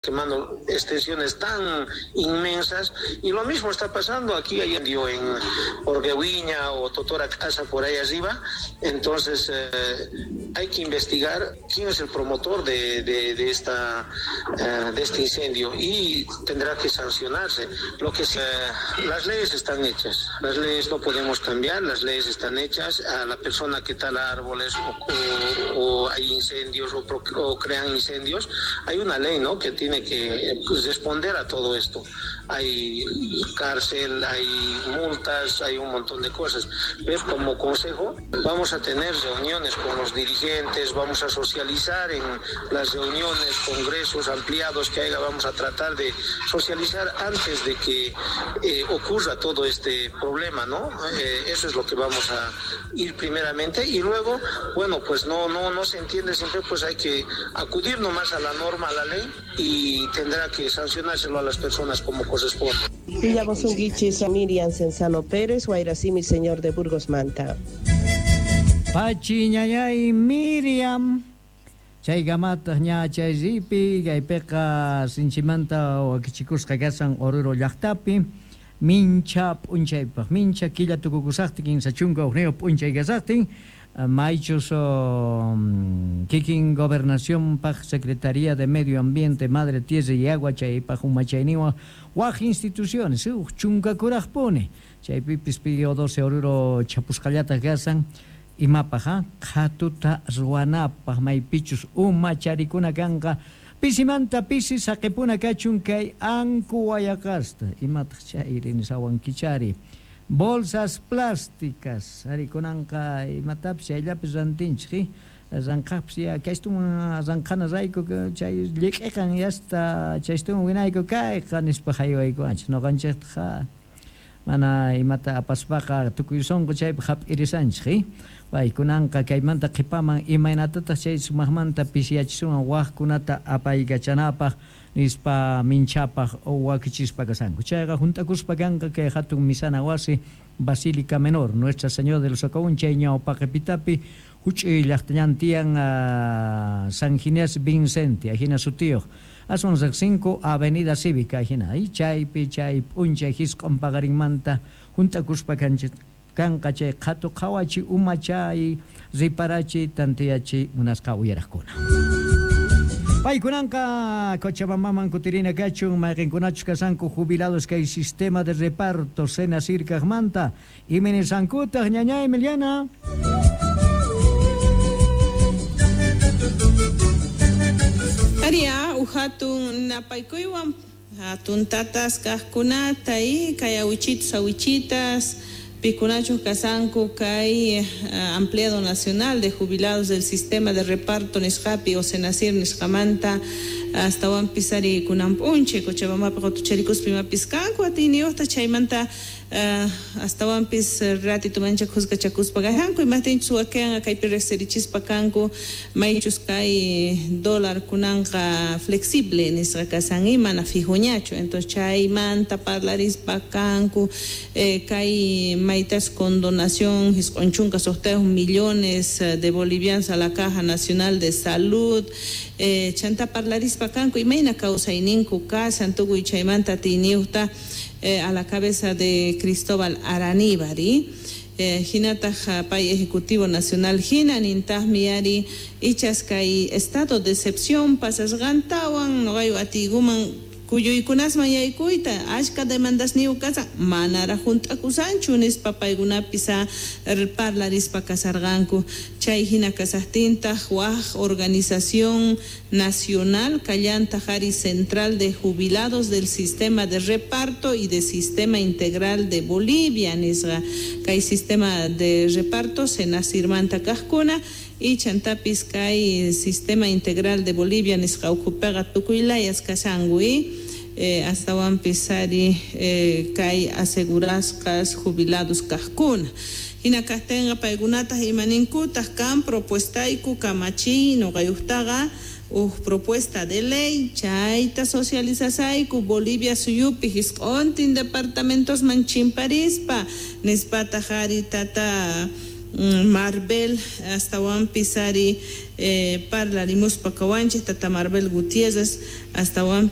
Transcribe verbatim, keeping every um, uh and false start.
Quemando extensiones tan inmensas, y lo mismo está pasando aquí hay incendio en Orguehuiña o Totora Casa por ahí arriba. Entonces eh, hay que investigar quién es el promotor de, de, de esta eh, de este incendio y tendrá que sancionarse. Lo que se, las leyes están hechas, las leyes no podemos cambiar, las leyes están hechas. A la persona que tala árboles o, o, o hay incendios o, o crean incendios, hay una ley, ¿no?, que tiene que, pues, responder a todo esto. Hay cárcel, hay multas, hay un montón de cosas. Pero como consejo vamos a tener reuniones con los dirigentes, vamos a socializar en las reuniones, congresos ampliados que haya, vamos a tratar de socializar antes de que eh, ocurra todo este problema, ¿no? Eh, eso es lo que vamos a ir primeramente, y luego, bueno, pues no, no, no se entiende siempre, pues hay que acudir nomás a la norma, a la ley, y y tendrá que sancionárselo a las personas como corresponde. Villamosunguichis Miriam Cenzano Pérez, Guairacimi, señor de Burgos Manta. Pachi ñañay Miriam, chay gamataq ña chay ripi, kaypiqa sinchimanta wakichikusqa kasan Oruro llaqtapi, mincha p'unchaypaq, mincha killa tukukusaqtin, kinsa chunka hukniyuq p'unchay kasaqtin, maychus kikin gobernación paq Secretaría de Medio Ambiente, Madre Tierra y Agua, chaypaq umachayniwan waj instituciones, uj chunkakuraqpuni, chaypipis P O doce Oruro chapusqallataq kasan, imapaq ha qhatuta ruwanapaq maypichus umacharikuna kanqa, pisimanta pisi saqipuna kachun kay anku wayaqasta, imataq chayri nisawankichari, bolsas plásticas, arikunanqa imatapis chayllapis rantinchik, ranqaqpis ya kaystuman ranqana rayku chay lliq'iqan yasta chaystuman winayku kayqa nispa haywaykuwanchik, ñuqanchiktaqa mana imata apaspaqa tukuy sunqu chaypi hap'irisanchik, paykunanqa kaymanta qhipaman imaynatataq chay sumaqmanta pisiyachisunwan waqkunata apaykachanapaq nispa minchapaq wakichispa kasanku. Chayqa hunt'akuspa kanqa kay hatun misana wasi Basílica Menor Nuestra Señora del Socavón chay ñawpaqipitapi huch'uy llaqtallan tiyan uh, San Ginés Vincente ajina sutiyuq aswan riqsinku Avenida Cívica ajina y chaypi chay p'unchay hisq'un paqarinmanta hunt'akuspa kanchik kanqa chay qhatu qhawachi umachay riparachi tantiyachi munasqa uyaraqkuna. Paykunanqa Cochabambaman kutirina kachun mayqinkunachus kasanku jubilados kay sistema de reparto Senasir kaqmanta iminisankutaq ñañay Emiliana. Aria uhatun napaykuywan hatun tatas kaqkunata y kay awichitos awichitas pikunachu kasanku kay uh, Ampliado Nacional de Jubilados del Sistema de Reparto nisqapi o Senasir nisqamanta astawanpis ari kunan p'unchay Cochabambapi qutucharikuspa imapis kanku atiyniyuqta chaymanta uh, astawanpis ratito mancha juzgachakuspa kajanku imaqtinchus wakinqa kaypi riqsirichispa kanku maychus kay dólar kunanqa flexible nisqa kasan y mana fijoñachu, entonces chaymanta parlarispa kanku eh, kay maytas con donación hisq'un chunka suqtayuq millones de bolivianos a la Caja Nacional de Salud eh, chanta parlarispa kanku imayna kawsayninku kasan tukuy chaymanta atiyniyuqta eh, a la cabeza de Cristóbal Araníbar eh, hinataq pay Ejecutivo Nacional hina nintaqmi ari ichas kay estado de excepción pasasqantawan nuqayu atiykuman kuyuykunasman yaykuyta achka demandasniyuq kasan manaraq hunt'akusanchu nispa paykunapis parlarispa kasarqanku chay hina kasaqtintaq waq organización nacional kallantaq ari Central de Jubilados del Sistema de Reparto y de Sistema Integral de Bolivia nisqa kay sistema de reparto Senasirmanta kaqkuna y chantapis kay Sistema Integral de Bolivia nisqa ukhupiqa tukuy layas kashanku eh, astawanpis ari eh, kay asegurasqas jubilados kaqkuna hina kaqtinqa paykunataq imaninkutaq kan propuestayku kamachiy nuqayuqtaqa uj propuesta de ley chayta socializasayku Bolivia suyupi hisq'untin departamentosman chimparispa nispataq ari tata Marbel astawanpis ari parlarimuspa kawanchik tata Marbel Gutiérrez astawanpis.